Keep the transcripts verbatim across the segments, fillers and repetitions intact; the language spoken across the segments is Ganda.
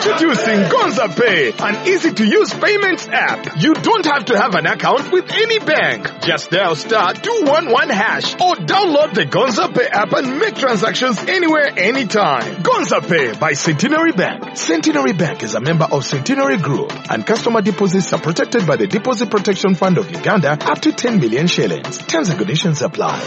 Introducing Gonza Pay, an easy-to-use payments app. You don't have to have an account with any bank. Just dial star two one one hash or download the Gonza Pay app and make transactions anywhere, anytime. Gonza Pay by Centenary Bank. Centenary Bank is a member of Centenary Group, and customer deposits are protected by the Deposit Protection Fund of Uganda up to ten million shillings. Terms and conditions apply.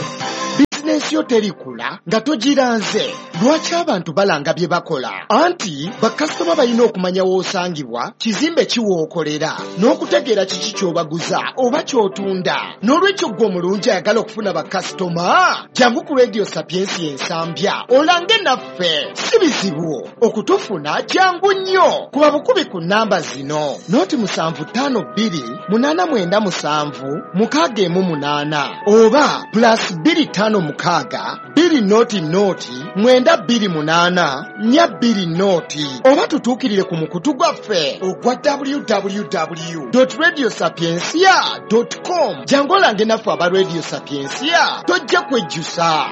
Bizinensi yo terikula nga togiranze. Lwaki abantu balanga bye bakola? Anti bakasitoma balina okumanya w'osangibwa, kizimbe ki w'okolera, n'okutegeera kiki ky'obaguza oba ky'otunda. N'olwekyo ggwe omulungi ayagala okufuna bakasitoma, jangu ku Radio Sapiensia Ensambya olange naffe. Si bizibu okutufuna, jangu nnyo. Kuba bukubi ku nnamba zino: noti musanvu ttaano bbiri munaana mwenda musanvu mukaaga emu munaana oba plus bbiri ttaano mukaaga bbiri noti noti mwenda bbiri munaana nnya bbiri noti, oba tutuukirire ku mukutu gwaffe ogwa w w w dot radio sapiensia dot com. Jangu olange naffe aba Radio Sapiensia, tojja kwejjusa.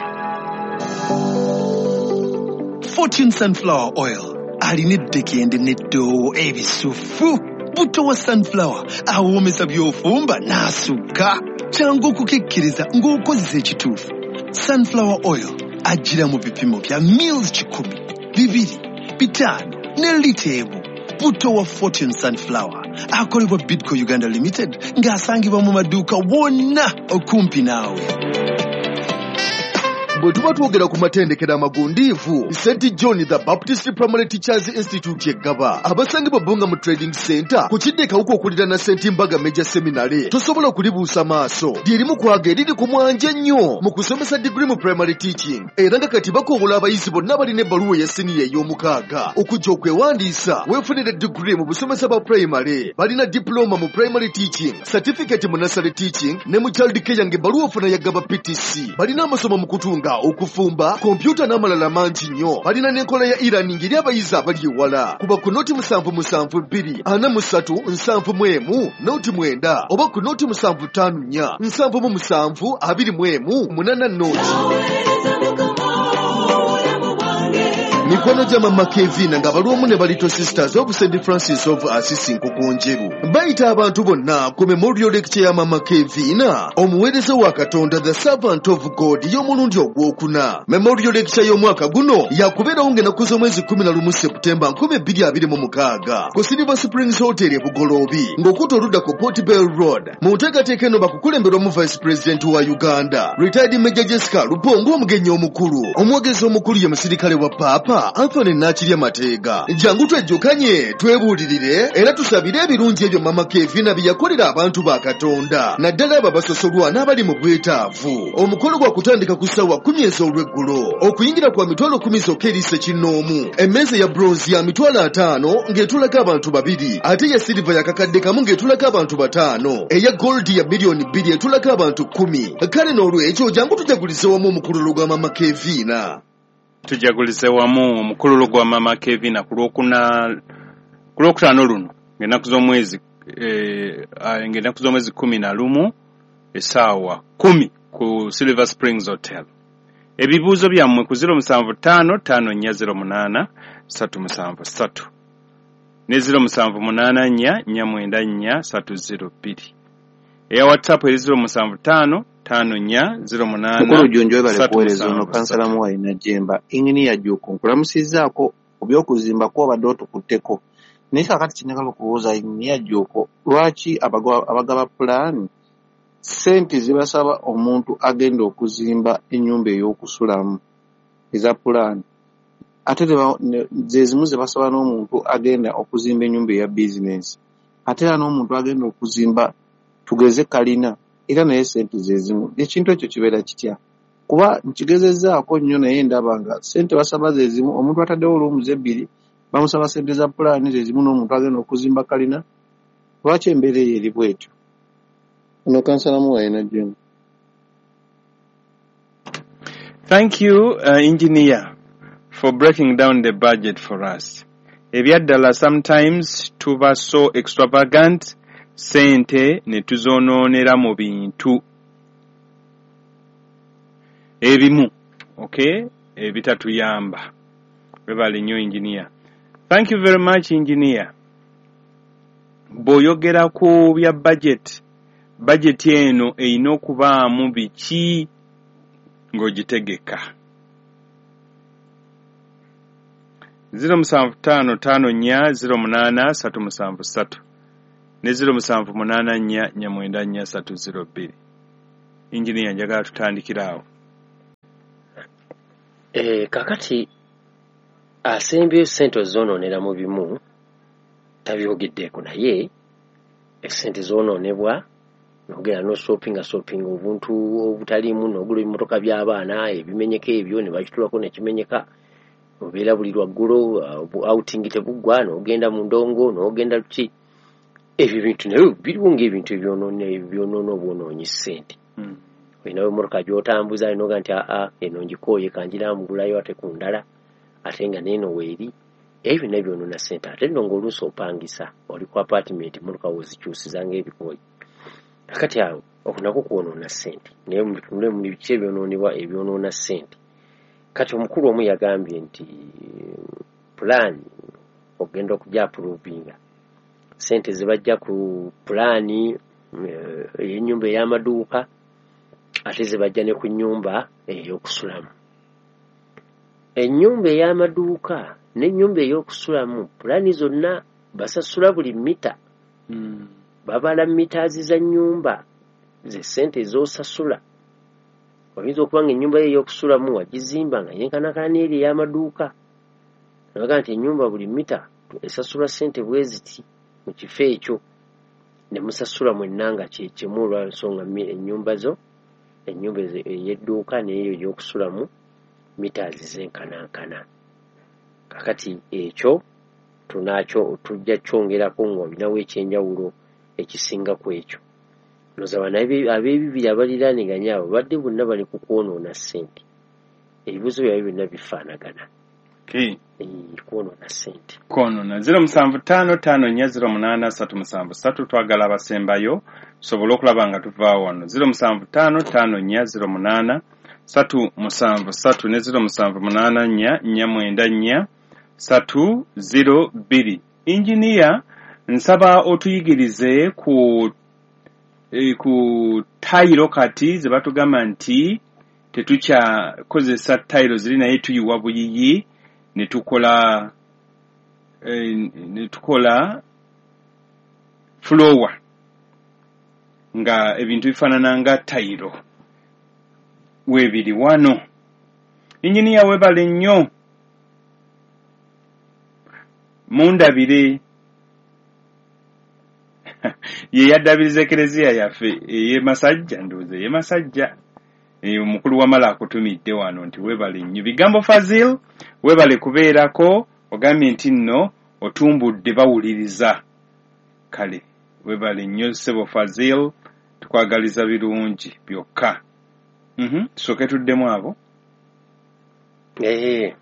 Fortune Sunflower Oil alina eddekende n'eddoowo ebisufu. Buto wa sunflower awoomesa by'ofumba n'asukka. Kyangu okukikkiriza ng'okozesa ekituufu. Sunflower oil ajjira mu bipimo bya mils kikumi, bibiri, bitaano ne lita emu. Buto wa Fortune Sunflower akolebwa Bidco Uganda Limited ng'asangibwa mu maduuka wonna okumpi naawe. Bwe tuba twogera ku matendekero amagundiivu, Saint John the Baptist Primary Teachers Institute Eggaba, abasangibwa Bbunga mu Trading Center ku kidde Kawuka okuliraana Saint Mbaga Major Seminary, tosobola kulibuusa maaso. Lyerimu kwaga eriri ku mwanje ennyo mu kusomesa degree mu primary teaching, era nga kati bakoowola abayizi bonna balina ebbaluwa eya siniya ey'omukaaga okujja okwewandiisa weefunire degree mu busomesa bwa primary. Balina diploma mu primary teaching, certificate mu nursery teaching ne mu child care ng'ebbaluwa ofuna ya Gaba P T C. Balina amasomo mu kutunga, okufumba, kompyuta n'amalala mangi nnyo. Balina n'enkola ya e-learning eri abayizi abali ewala. Kuba ku noti musanvu musanvu bbiri ana mu ssatu nsanvu mu emu noti mwenda oba ku noti musanvu ttaano nnya nsanvu mu musanvu abiri mu emu munaana noti. Mikono gya Mama Kevina nga balwomu ne Little Sisters of Saint Francis of Assisi Nkokonjeru bayita abantu bonna ku memorial lecture ya Mama Kevina, omuweereza wa Katonda, the servant of God, y'omulundi ogwokuna. Memorial lecture y'omwaka guno yakubeerawo ng'ennaku z'omwezi kkumi na lumu Septemba nkumi bbiri abiri mu mukaaga ku Silver Springs Hotel e Bugoloobi ng'okutta oludda ku Port Bell Road. Mu nteekateeka eno bakukulemberwamu Vice President wa Uganda, retired Major Jessica Lupongo, omugenyi omukulu. Omwogezi omukulu ye musirikale wa Paapa Anthony Nakirya Mateega. Jangu twejjukanye, twebuulirire era tusabire ebirungi ebyo Mama Kevina bye yakolera abantu ba Katonda, naddala abo abasosolwa n'abali mu bwetaavu. Omukolo gwa kutandika ku ssaawa kkumi ez'olweggulo, okuyingira kwa mitwalo kkumi zokka eri ssekinnoomu. Emmeeza ya bronze ya mitwalo ataano ng'etulako abantu babiri, ate eya silver ya kakadde kamu ng'etulako abantu bataano, eya gold ya miliyoni bbiri etulako abantu kkumi. Kale n'olwekyo jangu tujagulize wamu omukululo gwa Mama Kevina. Tujagulize wamu omukululo gwa Mama Kevina ku lwokuna ku lwokutaano luno ng'ennaku z'omwezi eh, ng'ennaku z'omwezi kkumi na lumu essaawa kkumi ku Silver Springs Hotel. Ebibuuzo byammwe ku ziro musanvu ttaano ttaano nnya ziro munaana ssatu musanvu ssatu ne ziro musanvu munaana nnya nnya mwenda nnya ssatu ziro bbiri. Eya WhatsApp eri ziro musanvu ttaano ttaano nnya ziro munaana Mukulu Jjunju webale ssatu kuweereza. Ono musanvu kansala ssatu. Muwayi Najjemba. Inginiya Jjuuko, nkulamusizzaako ku by'okuzimba kw'obadde otukutteko, naye kaakati kye okubuuza Inginiya Jjuuko, lwaki abagaba pulaani ssente zibasaba omuntu agenda okuzimba ennyumba ey'okusulamu eza pulaani, ate ze zimu ze basaba n'omuntu agenda okuzimba ennyumba eya bizinensi, ate era n'omuntu agenda okuzimba tugeze kalina, era naye ssente ze zimu? Ekintu ekyo kibeera kitya? Kuba nkigezezzaako nnyo naye ndaba nga ssente basaba ze zimu. Omuntu ataddewo rooms ebbiri bamusaba ssente za pulaani ze zimu n'omuntu agenda okuzimba kalina. Lwaki embeera eyo eri bw'etyo? Ono kansala Muwayi Najjemba. Thank you, uh, engineer, for breaking down the budget for us. Ebyaddala sometimes tuba so extravagant, sente ne tuzonoonera mu bintu ebimu, okay, ebitatuyamba. Webale nnyo, engineer. Thank you very much, engineer. Bw'oyogera ku bya budget, budget eno erina okubaamu biki ng'ogitegeka? zero musanvu ttaano ttaano nnya zero munaana ssatu musanvu ssatu ne zero musanvu munaana nnya nnya mwenda nnya ssatu zero bbiri. Engineer, njagala tutandikire awo. Eh, kakati asembyeyo ssente ozoonoonera mu bimu tabyogeddeeko, naye essente zoonoonebwa nogenda n'osopinga sopinga obuntu obutaliimu, n'ogula ebimotoka by'abaana ebimenyeka ebyo ne bakitulako ne kimenyeka, obeera buli lwaggulo outing tebuggwa, n'ogenda mu ndongo n'ogenda ki, ebyo bintu naye biriwo ng'ebintu ebyonoona ebyonoona obwonoonyi ssente. Mm. Olinawo emmotoka gy'otambuza noga nti aa eno ngikooye kangiramugulayo ate ku ndala, ate nga n'eno weeri, ebyo byonna byonoona ssente. Ate nno ng'oluusi opangisa oli ku apartment, emmotoka w'ozikyusiza ng'ebikooyi. Kakati awo okwo nakwo kwonoona ssente, naye mubitunule mu biki ebyonoonebwa ebyonoona ssente. Kati omukulu omu yagambye nti pulaani ogenda okujja approvinga ssente ze bajja ku pulaani ey'ennyumba ey'amaduuka, ate ze bajja ne ku nnyumba ey'okusulamu. Ennyumba ey'amaduuka n'ennyumba ey'okusulamu pulaani zonna basasula buli mita. Mm. Babala mitaazi za nnyumba ze ssente z'osasula. Oyinza okuba nga ennyumba yo ey'okusulamu wagizimba nga yenkanankana n'eri ey'amaduuka, nabaga nti ennyumba buli mita esasulwa ssente bwe ziti mu kifo ekyo, ne musasula mwenna nga kye kimu olw'ensonga ennyumba zo, ennyumba ey'edduuka n'eyo ey'okusulamu mitaazi zenkanankana. Kakati ekyo tunakyo tujja kyongerako ng'olinawo ekyenjawulo ekisinga ku ekyo. Ndowooza bano ab'ebibiri abaliraaniganye abo badde bonna bali ku kwonoona ssente. Ebibuuzo byabwe byonna bifaanagana. Okay. Kwonoona ssente. Kwonoona. zero musanvu ttaano ttaano nnya zero munaana ssatu musanvu ssatu twagala abasembayo tusobole okulaba nga tuvaawo wano. zero musanvu ttaano ttaano nnya zero munaana ssatu musanvu ssatu ne zero musanvu munaana nnya nnya mwenda nnya ssatu zero bbiri. Engineer, nsaba otuyigirize ku e, ku tayiro kati ze batugamba nti tetukyakozesa tayiro ziri, naye tuyiwa buyiyi ne tukola e, ne tukola floor nga ebintu bifaanana nga tayiro weebiri wano. Engineer, weebale nnyo, mundabire ye yaddabiriza ekereziya yaffe ey'e Masajja, ndowooza ey'e Masajja. Omukulu wamala akutumidde wano nti weebale nnyo. Bigambo Fazil, weebale kubeerako, ogambye nti nno otumbudde bawuliriza. Kale weebale nnyo ssebo Fazil, tukwagaliza birungi byokka. Mhm, tusooke tuddemu abo. Eh,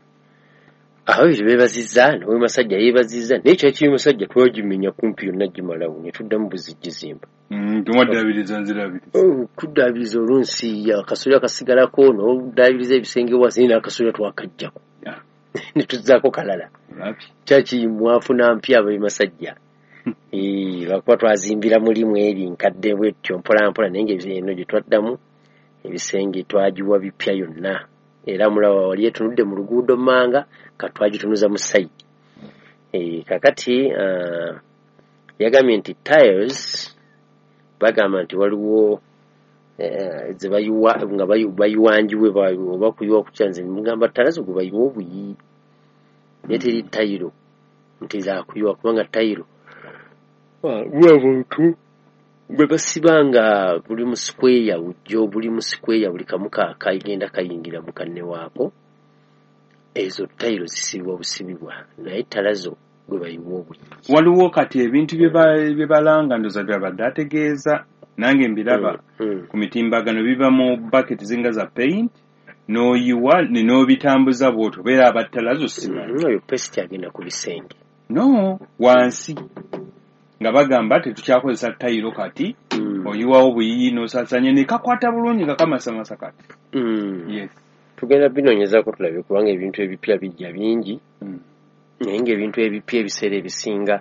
ababiri beebazizza, n'ow'e Masajja yeebazizza, naye kyaki y'e Masajja twagimenya kumpi yonna gimalawo ne tuddamu buzigizimba. Mm, tumwaddaabiriza nzirabiriza. Oh, tuddaabiriza olunsi akasolya kasigalako, n'oddaabiriza ebisenge wansi, naye n'akasolya twakaggyako. Yeah. Ne tuzzaako kalala. Kyaki mwafuna mpya ab'e Masajja. Eh, lwakuba twazimbira mulimu eri nkadde bwetyo mpola mpola, naye ng'eno gye twaddamu ebisenge twagiwa bipya yonna. Era mulaba wali etunudde mu luguudo mmanga, ka twagitunuza mu sayidi. Eh, kakati uh, yagambye nti tiles bagamba nti waliwo eh, ze bayiwa nga bayiwanjiwe oba kuyiwa ku kyanze, mugamba talazo gwe bayiwa obuyi, naye teri tayiro nti zakuyiwa kubanga tayiro bwabuntu bwe basiba nga buli mu square bujjo, buli mu square buli kamu kagenda kayingira mu kanne waako, ezo tayiro zisibibwa busibibwa, naye talazo gwe bayiwa obuyi. Waliwo kati ebintu bye balanga ndowooza byabadde ategeeza, nange mbiraba mm, mm. ku mitimbagano biva mu bucket zinga za paint n'oyiwa ne n'obitambuza bw'otyo, obeera abattalazo simanyi. Mm, oyo paste agenda ku bisenge. No, wansi nga bagamba tetukyakozesa tayiro kati, mm. oyiwawo buyiyi n'osaasanya ne kakwata bulungi nga kamasamasa kati. Mm. Yes. Tugenda binoonyezaako tulabe kubanga ebintu ebipya bijja bingi. Mm. Naye ng'ebintu ebipya ebiseera ebisinga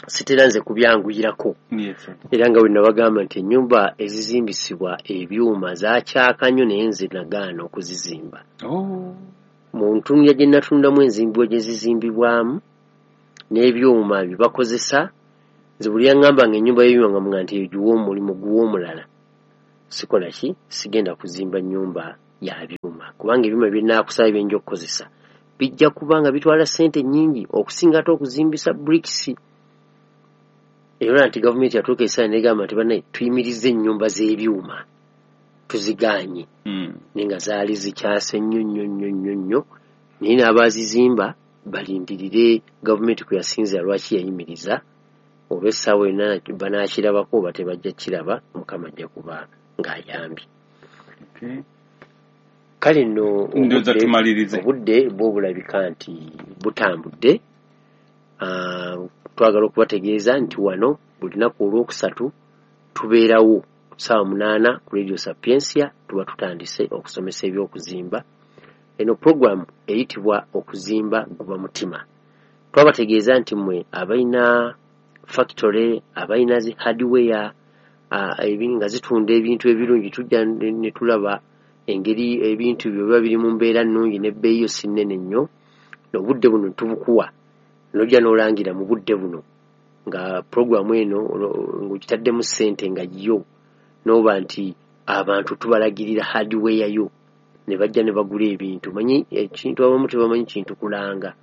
sitera nze kubyanguyirako. Yes. Era nga bwe nabagamba nti ennyumba ezizimbisibwa ebyuma zakyaka nnyo, naye nze nagaana okuzizimba. Oh. Mu ntunya gye natundamu enzimbibwa gye zizimbibwamu n'ebyuma bye bakozesa, nze buli yaŋŋamba nga ennyumba y'ebyuma nga muga nti giwa omulimu guwa omulala, sikola ki, sigenda kuzimba nnyumba ya byuma, kubanga ebyuma bye nnaakusaba bye nja okukozesa bijja kuba nga bitwala ssente nnyingi okusinga ate okuzimbisa bricks. Era nti gavumenti yatuuka ekiseera n'egamba nti bannaye tuyimirize ennyumba z'ebyuma tuzigaanye. Mm. Naye nga zaali zikyase nnyo nnyo nnyo nnyo nnyo, naye n'abaazizimba balindirire gavumenti kwe yasinzira lwaki yayimiriza, oba essaawa yonna banaakirabako oba tebajja kiraba, Mukama ajja kuba ng'ayambye. Okay. Kale nno Ndowooza obudde- tumalirize. obudde bwo bulabika nti butambudde. Ah, twagala okubategeeza nti wano buli lunaku olwokusatu tubeerawo ssaawa munaana ku Radio Sapientia, tuba tutandise okusomesa ebyokuzimba. Eno puroguramu eyitibwa Okuzimba Guba Mutima. Twabategeeza nti mmwe abalina factory, abalina zi hardware, ah, ebi- nga zitunda ebintu ebirungi, tujja ne ne tulaba engeri ebintu byo biba biri mu mbeera nnungi n'ebbeeyi yo si nnene nnyo. Obudde buno tubukuwa, n'ojja n'olangira mu budde buno nga puroguramu eno olo- ng'ogitaddemu ssente nga yo, n'oba nti abantu tubalagirira hardware yo ne bajja ne bagula ebintu. Manyi ekintu abamu tebamanyi kintu kulanga,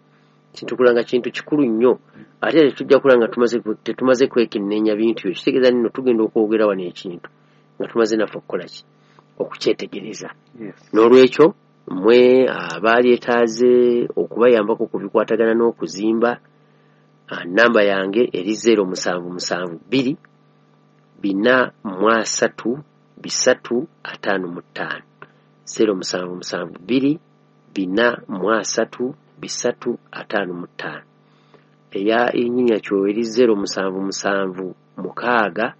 kintu kulanga kintu kikulu nnyo, ate era tetujja kulanga tumaze tetumaze kwekenneenya bintu ebyo. Kitegeeza nno tugenda okwogera wano ekintu nga tumaze naffe okukola ki, okukyetegereza. Yes. N'olwekyo mmwe abalyetaaze okubayambako ku bikwatagana n'okuzimba, ah, namba yange eri zero musanvu musanvu bbiri bina mu asatu bisatu ataano mu ttaano, zero musanvu musanvu bbiri bina mu asatu bisatu ataano mu ttaano. Eya Injinia Kyo eri zero musanvu musanvu mukaaga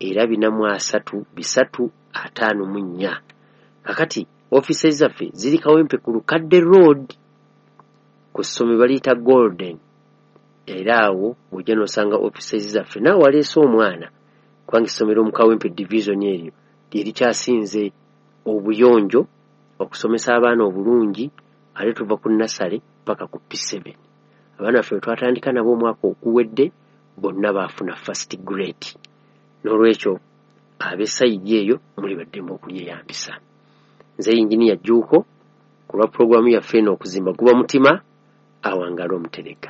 era bina mu asatu bisatu ataano mu nnya. Kakati ofiisi zaffe ziri Kawempe ku Lukadde Road, ku ssomero baliyita Golden. Era awo bw'ojja n'osanga ofiisi zaffe, naawe waleese omwana, kubanga essomero mu Kawempe division eryo lye likyasinze obuyonjo, okusomesa abaana obulungi, ate tuva ku nasale paka ku P seven. Abaana baffe bwe twatandika nabo omwaka oguwedde bonna baafuna first grade. N'olwekyo ab'essayidi eyo muli baddembe okulyeyambisa. Nze Yinginiya Jjuuko ku lwa pulogulaamu yaffe eno Okuzimba Guba Mutima, awangaale omutereka.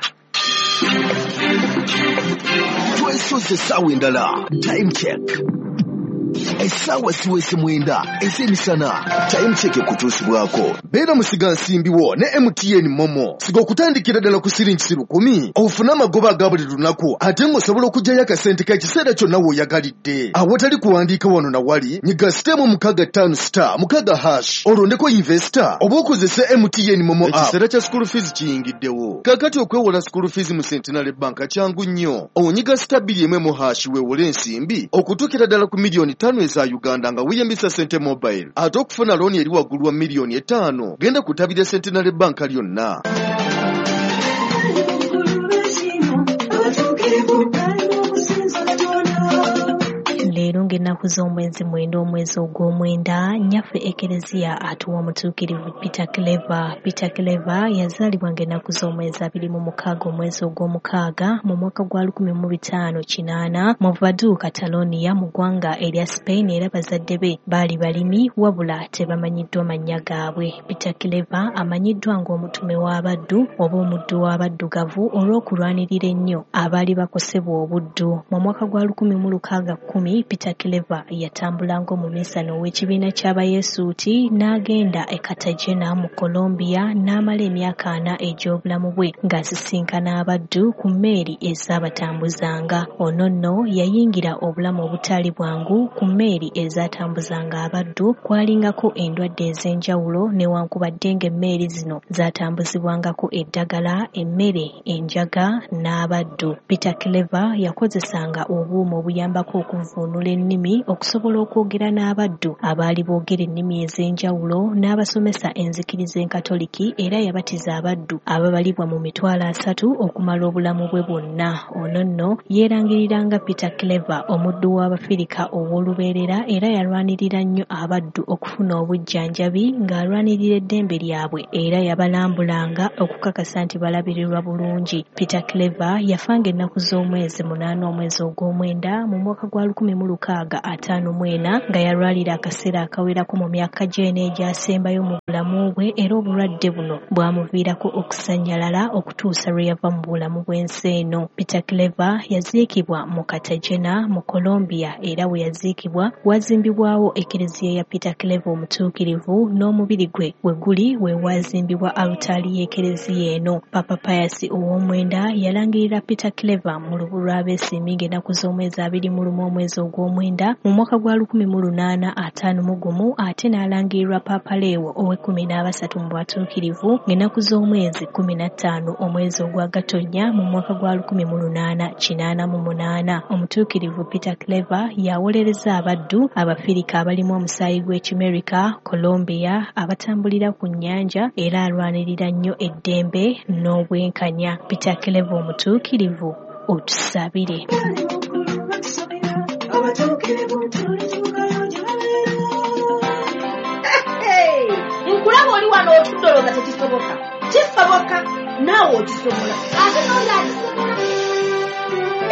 Twesoze essaawa endala. Time check. Essaawa ziweze mwenda ez'emisana. Time check ekutuusibwako. Beera musiga nsimbi wo ne M T N Momo. Siga okutandikira ddala ku siringi lukumi, ofune amagoba aga buli lunaku, ate ng'osobola okuggyayo akasente k'ekiseera kyonna w'oyagalidde. Awatali kuwandiika wano na wali, nyiga sitemu mukaaga ttaano star mukaaga hash, olondeko investor oba okozese M T N Momo app. Ekiseera kya school fees kiyingiddewo. Kaakati okwewola school fees mu Centenary Bank kyangu nnyo. Onyiga star bbiri emu emu hash weewole ensimbi okutuukira ddala ku miliyoni ttaano eza Uganda nga weeyambisa Sente Mobile. Ate okufuna looni eri waggulu wa miliyoni etaano, genda ku ttabi lya Centenary Bank lyonna. Leero ng'ennaku z'omwezi mwenda omwezi ogw'omwenda, nnyaffe Ekereziya atuwa omutuukirivu Peter Claver. Peter Claver yazaalibwa ng'ennaku z'omwezi abiri mu mukaaga omwezi ogw'omukaaga mu mwaka gwa lukumi mu bitaano kinaana mu Vaduz, Catalonia mu ggwanga erya Spain, era bazadde be baali balimi wabula tebamanyiddwa mannya gaabwe. Peter Claver amanyiddwa ng'omutume w'abaddu oba omuddu w'abaddugavu olw'okulwanirira ennyo abaali bakosebwa obuddu. Mu mwaka gwa lukumi mu lukaaga kkumi Peter Claver yatambula ng'omuminsani ow'ekibiina ky'Abayesuuti n'agenda e Cartagena mu Colombia n'amala emyaka ana egy'obulamu bwe ng'asisinkana abaddu ku mmeeri ezaabatambuzanga. Ono nno yayingira obulamu obutaali bwangu ku mmeeri ezaatambuzanga abaddu, kwalingako endwadde ez'enjawulo newankubadde ng'emmeeri zino zaatambuzibwangako eddagala, emmere, enjaga n'abaddu. Peter Claver yakozesanga obuuma obuyambako okuvvuunula ennimi okusobola okwogera n'abaddu abaali boogera ennimi ez'enjawulo n'abasomesa enzikiriza enkatoliki era yabatiza abaddu ababalibwa mu mitwalo asatu okumala obulamu bwe bwonna. Ono nno yeerangiriranga Peter Clever, omuddu w'Abafirika ow'olubeerera, era yalwanirira nnyo abaddu okufuna obujjanjabi ng'alwanirira eddembe lyabwe era yabalambulanga okukakasa nti balabirirwa bulungi. Peter Clever yafanga ennaku z'omwezi munaana omwezi ogw'omwenda mu mwaka gwa lukumi mu lukaaga ataano mu ena nga yalwalira akaseera akawerako mu myaka gy'ena egyasembayo mu bulamu bwe era obulwadde buno bwamuviirako okusannyalala okutuusa lwe yava mu bulamu bw'ensi eno. Peter Clever yaziikibwa mu Cartagena mu Colombia era we yaziikibwa wazimbibwawo ekereziya ya Peter Clever omutuukirivu n'omubiri gwe we guli we wazimbibwa alutaali y'ekereziya eno. Papa Pius ow'omwenda yalangirira Peter Clever mu lubu lw'abeesiimi ng'ennaku z'omwezi abiri mu lumu omwezi ogw'omwenda mu mwaka gwa lukumi mu lunaana ataano mu gumu ate n'alangirirwa Papa Leo ow'ekkumi n'abasatu mu batuukirivu ng'ennaku z'omwezi kkumi na ttaano omwezi ogwa Gatonnya mu mwaka gwa lukumi mu lunaana kinaana mu munaana. Omutuukirivu Peter Clever yawolereza abaddu Abafirika abalimu omusaayi gw'Ekimerika, Colombia, abatambulira ku nnyanja era alwanirira nnyo eddembe n'obwenkanya. Peter Clever omutuukirivu, otusabire. Nkulaba oli wano otudde tekisoboka. Kisoboka naawe okisobola ate n'oli akisobola.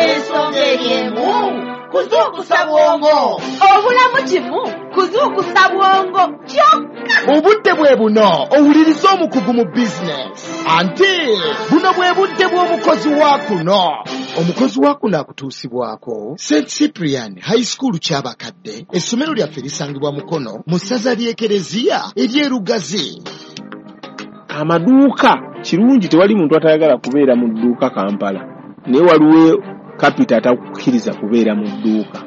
Ensonga eri emu kuzuukusa bwongo. Obulamu kimu kuzuukusa bwongo kyokka. Obudde bwe buno owuliriza omukugu mu bizinesi anti buno bwe budde bw'omukozi wa kuno. Omukozi wa kuno akutuusibwako Saint Cyprian High School Kyabakadde. Essomero lyaffe lisangibwa Mukono mu ssaza ly'Ekereziya ery'Erugazi. Amaduuka kirungi, tewali muntu atayagala kubeera mu dduuka Kampala, naye waliwo kapita atakukkiriza kubeera mu dduuka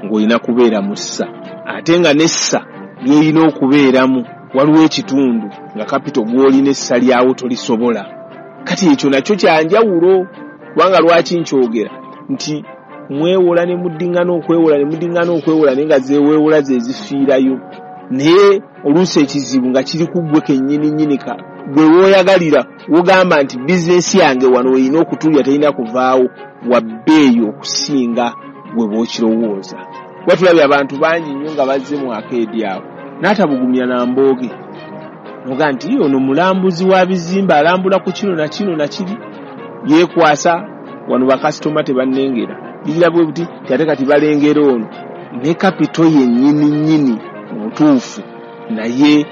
ng'olina kubeera mu ssa, ate nga n'essa ly'olina okubeeramu waliwo ekitundu nga kapito gw'olina essa lyawo tolisobola. Kati ekyo nakyo kyanjawulo, kubanga lwaki nkyogera nti mwewola ne muddiŋŋana okwewola ne muddiŋŋana okwewola naye nga zeeweewola ze zifiirayo, naye oluusi ekizibu nga kiri ku ggwe kennyini nnyini ka gwe w'oyagalira wogamba nti bizinesi yange wano erina okutulya terina kuvaawo wa bbeeyi okusinga gwe bw'okirowooza. Kuba tulabye abantu bangi nnyo nga bazze mu akeedi awo n'atabugumya na mbooge noga nti ono mulambuzi wa bizimbe alambula ku kino na kino na kiri, yeekwasa wano bakasitoma tebannengera bigira bwe buti ate kati balengera ono ne kapito yennyini nnyini mutuufu naye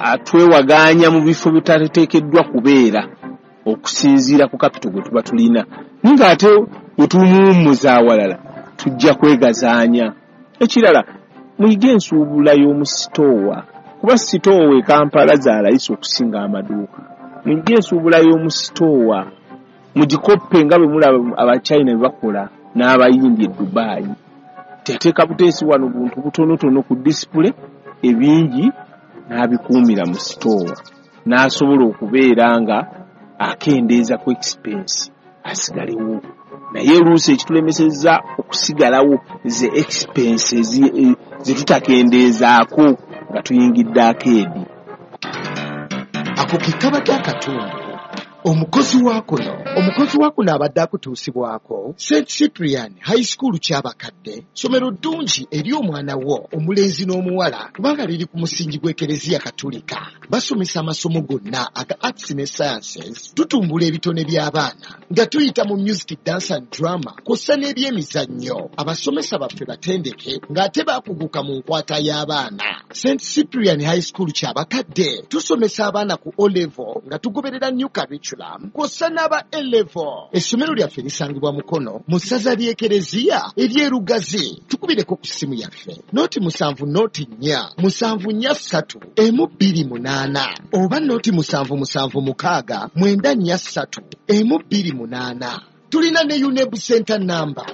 atwewagaanya mu bifo bitateekeddwa kubeera okusinziira ku kapito gwe tuba tulina, naye ng'ate bwe tumuwummuza awalala tujja kwegazaanya. Ekirala muyige ensuubula y'omu sitoowa, kuba sitoowa e Kampala za layisi okusinga amaduuka. Muyige ensuubula y'omu sitoowa mugikoppe nga bwe mulaba Abachina bwe bakola n'Abayindi e Dubai. Teteeka buteesi wano buntu butonotono ku disipule, ebingi n'abikuumira mu sitoowa n'asobola okubeera nga akendeeza ku expense asigalewo. Naye oluusi ekitulemesezza okusigalawo ze expense ze tutakendeezaako nga tuyingidde akeedi. Ako ke kabadde akatundu. Omukozi wa kuno omukozi wa kuno abadde akutuusibwako Saint Cyprian High School Kyabakadde, ssomero ddungi eri omwana wo omulenzi n'omuwala kubanga liri ku musingi gw'Ekereziya Katolika. Basomesa amasomo gonna aga arts ne sciences, tutumbula ebitone by'abaana nga tuyita mu music, dance and drama kw'ossa n'ebyemizannyo. Abasomesa baffe batendeke ng'ate baakuguka mu nkwata y'abaana. Saint Cyprian High School Kyabakadde tusomesa abaana ku O level nga tugoberera new curriculum kw'ossa n'aba A level. Essomero lyaffe lisangibwa Mukono mu ssaza ly'Ekereziya ery'Erugazi. Tukubireko ku ssimu yaffe noti musanvu noti nnya musanvu nnya ssatu emu bbiri munaana oba noti musanvu musanvu mukaaga mwenda nnya ssatu emu bbiri munaana. Tulina ne UNEB Center number